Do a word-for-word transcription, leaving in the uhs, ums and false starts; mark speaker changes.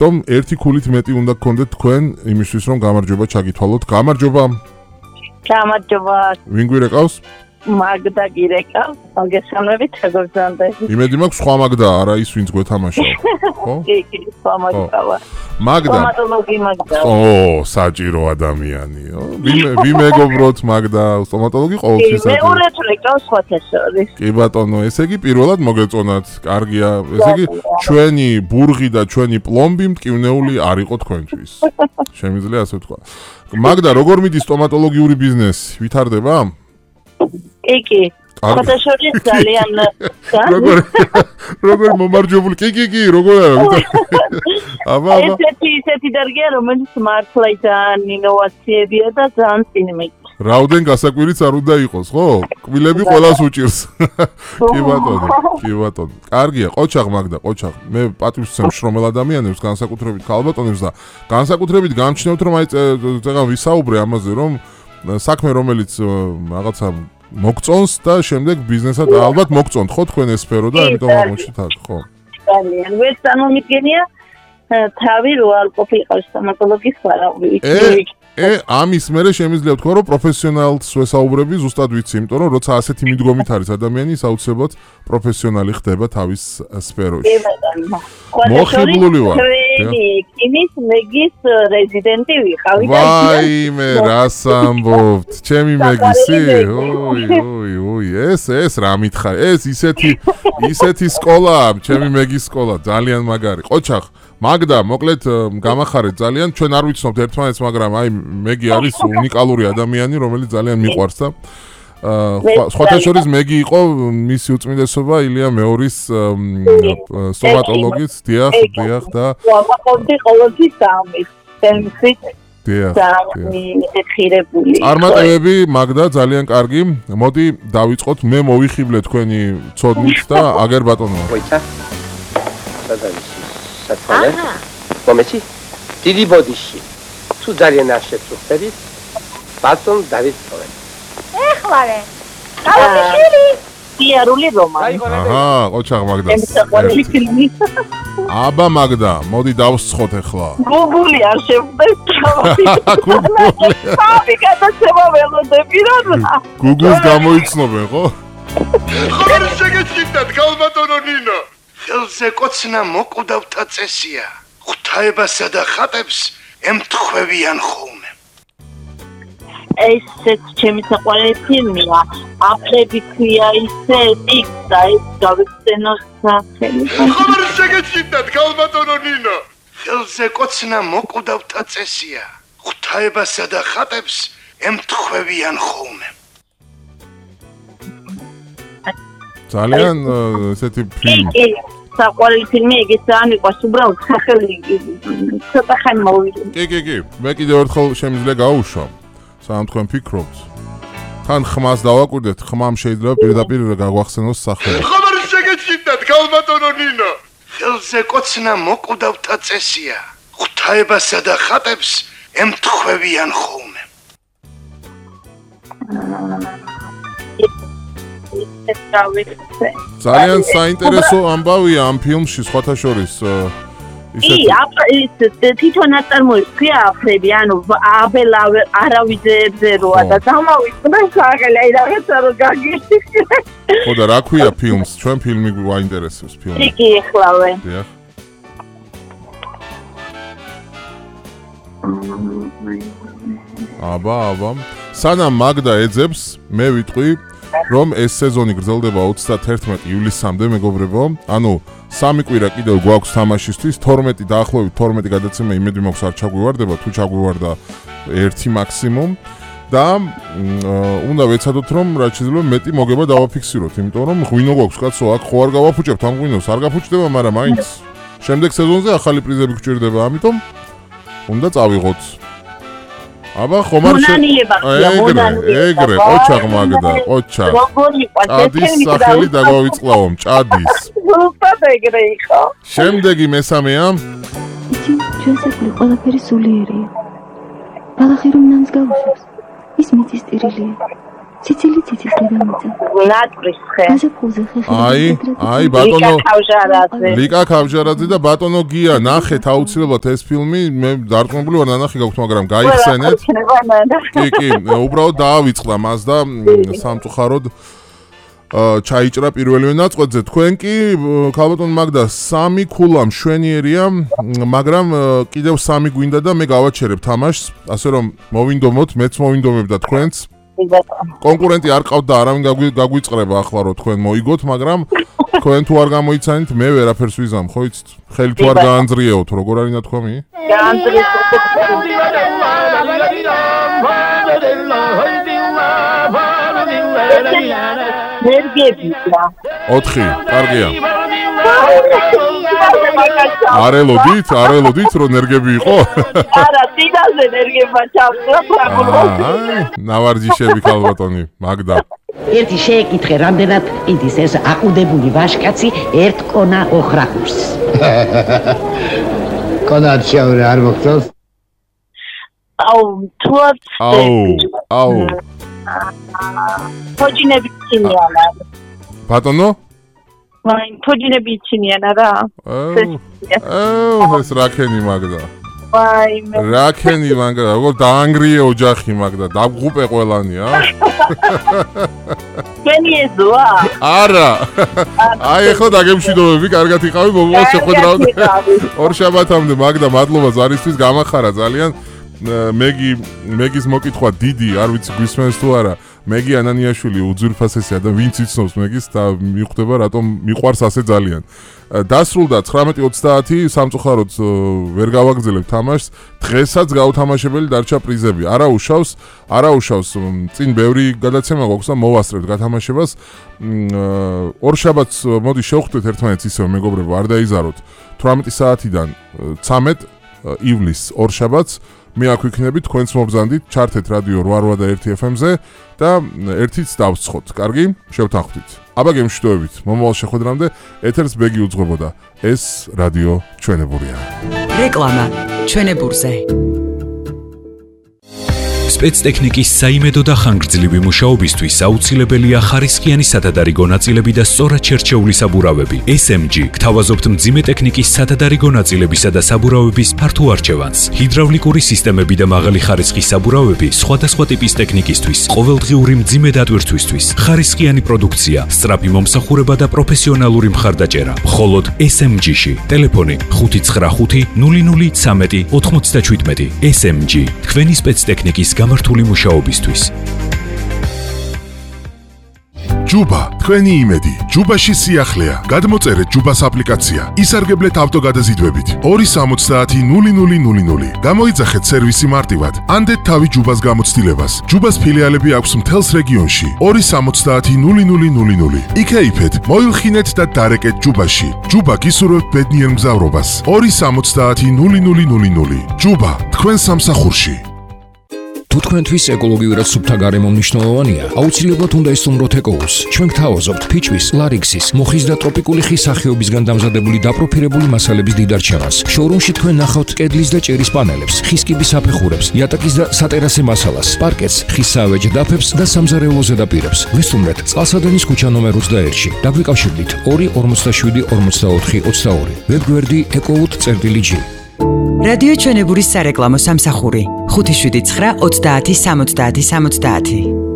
Speaker 1: რომ ერთი ქულით მეტი უნდა გქონდეთ თქვენ იმისთვის რომ გამარჯობა ჩაგითვალოთ. გამარჯობა.
Speaker 2: გამარჯობა.
Speaker 1: ვინ გვირეკავს?
Speaker 2: მაგდა გირეკავს. მოგესალმებით, როგორ
Speaker 1: იმედი მაქვს სხვა მაგდა არა ის ვინც გვეთამაშავ. ხო?
Speaker 2: კი, კი, სხვა მაგდა.
Speaker 1: მაგდა.
Speaker 2: სტომატოლოგი მაგდა.
Speaker 1: ო, საჭირო ადამიანიო. ვინ მეგობროთ მაგდა, სტომატოლოგი ყოველთვის საჭირო.
Speaker 2: მეორე თუ ეკავს სხვათაშორის.
Speaker 1: კი ბატონო, ესე იგი პირველად მოგეწონათ. კარგია. ესე იგი ჩვენი ბურღი და ჩვენი პლომბი მტკივნეული არ იყო თქვენთვის. შემიძლია ასე ვთქვა. მაგდა, როგორ მიდის სტომატოლოგიური ბიზნესი? ვითარდება?
Speaker 2: კი, კი. სხვათაშორის ძალიან
Speaker 1: როგორ როგორ მომარჯვებული. კი, კი, კი, როგორ არა? აბა, აბა.
Speaker 2: ესეთი ისეთი დარგია, რომელიც მართლა ძალიან ინოვაციებია და ძალიან წინმით.
Speaker 1: რაუდენ გასაკვირიც არ უნდა იყოს, ხო? კბილები ყველას უჭირს. კი ბატონო, კი ბატონო. კარგია, ყოჩაღ მაგდა, ყოჩაღ. მე პატივს ვცემ შრომელ ადამიანებს, განსაკუთრებით ქალბატონებს და განსაკუთრებით გამჩნევთ, რომ აი წეგან ვისაუბრე ამაზე, რომ საქმე რომელიც რაღაცა მოგწონს და შემდეგ ბიზნესად ალბათ მოგწონთ ხო თქვენ ეს სფერო და ამიტომ აღმოჩნდით აქ ხო?
Speaker 2: ძალიან. ვერც წარმომიდგენია თავი რო არ ყოფილიყო სტომატოლოგის ვარაუდი.
Speaker 1: ე ამის მერე შემიძლია ვთქვა რომ პროფესიონალს ვესაუბრები ზუსტად ვიცი, იმიტომ რომ როცა ასეთი მიდგომით არის ადამიანი, ის აუცილებლად პროფესიონალი ხდება თავის სფეროში. მოხიბლული ვარ.
Speaker 2: იმის მეგის რეზიდენტი ვიყავი და
Speaker 1: ვაიმე, რას ამბობთ? ჩემი მეგისი? ოი, ოი, ოი, ეს ეს რა მითხარ? ეს ისეთი ისეთი სკოლაა, ჩემი მეგის სკოლა, ძალიან მაგარი. ყოჩახ, მაგდა, მოკლედ გამახარეთ ძალიან, ჩვენ არ ვიცნობთ ერთმანეთს, მაგრამ აი მეგი არის უნიკალური ადამიანი, რომელიც ძალიან მიყვარს და სხვათა შორის მეგი იყო მისი უწმინდესობა ილია მეორის სტომატოლოგიც, დიახ, დიახ და
Speaker 2: ვაფხობდი ყოველთვის ამის, თემით
Speaker 1: დიახ,
Speaker 2: ხირებული.
Speaker 1: წარმატებები მაგდა ძალიან კარგი. მოდი დავიწყოთ, მე მოვიხიბლე თქვენი ცოდნით და აგერ ბატონო.
Speaker 3: მოიცა. სადა ის საწყალე? მომეცი? დიდი ბოდიში. თუ ძალიან არ შეწუხდებით, ბატონ დავით წოვენ.
Speaker 4: ეხლარე. გავიშვილი.
Speaker 2: იარული რომანი.
Speaker 1: აჰა, ყოჩაღ მაგდა.
Speaker 2: ემსაყვარელი ფილმი.
Speaker 1: აბა მაგდა, მოდი დავსცხოთ ახლა.
Speaker 2: გუგული არ შევხვდეს თავი.
Speaker 1: გუგული.
Speaker 2: თავი გადაცემა ველოდები რა.
Speaker 1: გუგულს გამოიცნობენ, ხო?
Speaker 5: ხარ შეგეჭიდათ, გალბატონო ნინო. ხელზე კოცნა მოკვდავთა წესია. ღვთაებასა და ხატებს ემთხვევიან ხოლმე.
Speaker 2: ესეც ჩემი საყვარელი ფილმია. აფრები ქვია ისე ტიქსა ეს გავიხსენოს სახელი.
Speaker 5: ხარ შეგეჭიდათ, გალბატონო ნინო. ხელზე კოცნა მოკვდავთა წესია. ღვთაებასა და ხატებს ემთხვევიან ხოლმე.
Speaker 1: ძალიან ესეთი ფილმი.
Speaker 2: საყვარელი ფილმი ეგეც ძალიან მიყვარს, უბრალოდ სახელი ცოტა ხანი მოვიდა.
Speaker 1: კი, კი, კი. მე კიდევ ერთხელ შემიძლია გავუშვამ. სანამ თქვენ ფიქრობთ. თან ხმას დავაკვირდეთ, ხმამ შეიძლება პირდაპირ გაგვახსენოს სახელი.
Speaker 5: ხარ შეგეჭიდათ, გალბატონო ნინო. ხელზე კოცნა მოკვდავთა წესია. ღვთაებასა და ხატებს ემთხვევიან ხოლმე.
Speaker 1: ძალიან საინტერესო ამბავია ამ ფილმში სხვათა შორის
Speaker 2: ისეთი კი, თვითონ აწარმოებს ქვია აფრები, ანუ აბელ არავიძეებზე როა და დამავიწყდა სახელი, აი რაღაცა რო გაგიხდი.
Speaker 1: ხო და რა ქვია ფილმს? ჩვენ ფილმი გვაინტერესებს ფილმი.
Speaker 2: კი, კი, ეხლავე.
Speaker 1: დიახ. აბა, აბა. სანამ მაგდა ეძებს, მე ვიტყვი რომ ეს სეზონი გრძელდება ოცდაათერთმეტი ივლისამდე მეგობრებო. ანუ სამი კვირა კიდევ გვაქვს თამაშისთვის, თორმეტი დაახლოებით თორმეტი გადაცემა იმედი მაქვს არ ჩაგვივარდება, თუ ჩაგვივარდა ერთი მაქსიმუმ და უნდა ვეცადოთ რომ რაც შეიძლება მეტი მოგება დავაფიქსიროთ, იმიტომ რომ ღვინო გვაქვს კაცო, აქ ხო არ გავაფუჭებთ ამ ღვინოს, არ გაფუჭდება, მაგრამ მაინც შემდეგ სეზონზე ახალი პრიზები გჭირდება, ამიტომ უნდა წავიღოთ. აბა ხომ არ ეგრე, ეგრე, ყოჩაღ მაგდა, ყოჩაღ. ჭადის სახელი დაგვავიწყლავო, ჭადის.
Speaker 2: ზუსტად ეგრე იყო.
Speaker 1: შემდეგი მესამეა.
Speaker 6: იცი, ჩვენ საქმე ყველაფერი სულიერია. ბალახი რომ ნამს გაუშვებს, ის მიწის ტირილია. ციცილი ციცის დედამიწა.
Speaker 2: ნატვრისხე.
Speaker 6: გაზაფხულზე ხეხილი.
Speaker 1: აი, აი ბატონო
Speaker 2: ქავჟარაძე.
Speaker 1: ლიკა ქავჟარაძე და ბატონო გია, ნახეთ აუცილებლად ეს ფილმი, მე დარწმუნებული ვარ ნანახი გაქვთ, მაგრამ გაიხსენეთ. კი, კი, უბრალოდ დაავიწყდა მას და სამწუხაროდ ჩაიჭრა პირველივე ნაწყვეტზე. თქვენ კი ქალბატონ მაგდა სამი ქულა მშვენიერია, მაგრამ კიდევ სამი გვინდა და მე გავაჩერებ თამაშს, ასე რომ მოვინდომოთ, მეც მოვინდომებ და თქვენც. კონკურენტი არ ყავთ და არავინ გაგვიწყრება ახლა რომ თქვენ მოიგოთ, მაგრამ თქვენ თუ არ გამოიცანით, მე ვერაფერს ვიზამ, ხო იცით? ხელი თუ არ გაანძრიეოთ, როგორ არის ნათქვამი?
Speaker 2: ნერგებია.
Speaker 1: ოთხი, კარგია. არელოდით, არელოდით რომ ნერგები იყო?
Speaker 2: არა, წინაზე ნერგება ჩავსვა ფრაგულში.
Speaker 1: ნავარჯიშები ქალბატონი, მაგდა.
Speaker 7: ერთი შეეკითხე, რამდენად ყიდის ეს აყუდებული ვაშკაცი ერთ კონა ოხრახურს.
Speaker 8: კონად შევრი არ მოგწონს?
Speaker 2: აუ, თუად.
Speaker 1: აუ, აუ.
Speaker 2: ფოჯინები ჩინიან არა.
Speaker 1: ბატონო?
Speaker 2: ვაი, ფოჯინები ჩინიან არა.
Speaker 1: აუ, ეს რაკენი მაგდა.
Speaker 2: ვაი, მე.
Speaker 1: რაკენი მაგდა, როგორ დაანგრიე ოჯახი მაგდა, დაგღუპე ყველანი, ა?
Speaker 2: კენი ეზოა?
Speaker 1: არა. აი ახლა დაგემშვიდობები, კარგად იყავი, მომავალ შეხვედრამდე. ორ შაბათამდე მაგდა, მადლობა ზარისთვის, გამახარა ძალიან. მეგი მეგის მოკითხვა დიდი, არ ვიცი გვისმენს თუ არა. მეგი ანანიაშვილი უძვირფასესია და ვინც იცნობს მეგის და მიხვდება რატომ მიყვარს ასე ძალიან. დასრულდა ცხრამეტი ოცდაათი, სამწუხაროდ ვერ გავაგრძელებ თამაშს. დღესაც გაუთამაშებელი დარჩა პრიზები. არა უშავს, არა უშავს, წინ ბევრი გადაცემა გვაქვს და მოვასწრებთ გათამაშებას. ორ შაბათს მოდი შევხვდეთ ერთმანეთს ისევ მეგობრებო, არ დაიზაროთ. თვრამეტი საათიდან ცამეტ ივლისს ორ შაბათს მე აქ ვიქნები, თქვენც მობზანდით, ჩართეთ რადიო რვა რვა და ერთი ეფ ემ-ზე და ერთიც დავსცხოთ. კარგი? შევთანხმდით. აბა გემშვიდობებით. მომავალ შეხვედრამდე ეთერს ბეგი უძღვებოდა. ეს რადიო ჩვენებურია.
Speaker 9: რეკლამა ჩვენებურზე. სპეცტექნიკის საიმედო და ხანგრძლივი მუშაობისთვის აუცილებელია ხარისხიანი სათადარიგო ნაწილები და სწორად შერჩეული საბურავები. ეს ემ ჯი გთავაზობთ მძიმე ტექნიკის სათადარიგო ნაწილებისა და საბურავების ფართო არჩევანს. ჰიდრავლიკური სისტემები და მაღალი ხარისხის საბურავები სხვადასხვა ტიპის ტექნიკისთვის, ყოველდღიური მძიმე დატვირთვისთვის, ხარისხიანი პროდუქცია, სწრაფი მომსახურება და პროფესიონალური მხარდაჭერა. მხოლოდ ეს ემ ჯი-ში. ტელეფონი ხუთი ცხრა ხუთი ნული ნული ცამეტი ოთხმოცდაჩვიდმეტი. ეს ემ ჯი თქვენი სპეცტექნიკის გამართული მუშაობისთვის.
Speaker 10: ჯუბა, თქვენი იმედი. ჯუბაში სიახლეა. გადმოწერეთ ჯუბას აპლიკაცია. ისარგებლეთ ავტოგადაზიდვებით. ორი სამოცდაათი ნული ნული ნული ნული. გამოიძახეთ სერვისი მარტივად. ანდეთ თავი ჯუბას გამოცდილებას. ჯუბას ფილიალები აქვს მთელს რეგიონში. ორი სამოცდაათი ნული ნული ნული ნული. იქეიფეთ, მოილხინეთ და დარეკეთ ჯუბაში. ჯუბა გისურვებთ ბედნიერ მგზავრობას. ორი სამოცდაათი ნული ნული ნული ნული. ჯუბა, თქვენ სამსახურში.
Speaker 11: თუ თქვენთვის ეკოლოგიურად სუფთა გარემო მნიშვნელოვანია, აუცილებლად უნდა ესწროთ ეკოუს. ჩვენ გთავაზობთ ფიჩვის, ლარიქსის, მოხის და ტროპიკული ხის სახეობისგან დამზადებული დაპროფილებული მასალების დიდარჩევანს. შოურუმში თქვენ ნახავთ კედლის და ჭერის პანელებს, ხის კიბის აფეხურებს, იატაკის და სატერასე მასალას, პარკეტს, ხის საავეჯ დაფებს და სამზარეულო ზედაპირებს. ვესტუმრეთ წყალსადენის ქუჩა ნომერ ოცდაერთში. დაგვიკავშირდით ორი ორმოცდაშვიდი ორმოცდაოთხი ოცდაორი. ვებგვერდი ეკოუთ.წერტილი.ჯი.
Speaker 9: რადიო ჩვენებურის სარეკლამო სამსახური ხუთი შვიდი ცხრა ოცდაათი სამოცდაათი სამოცდაათი.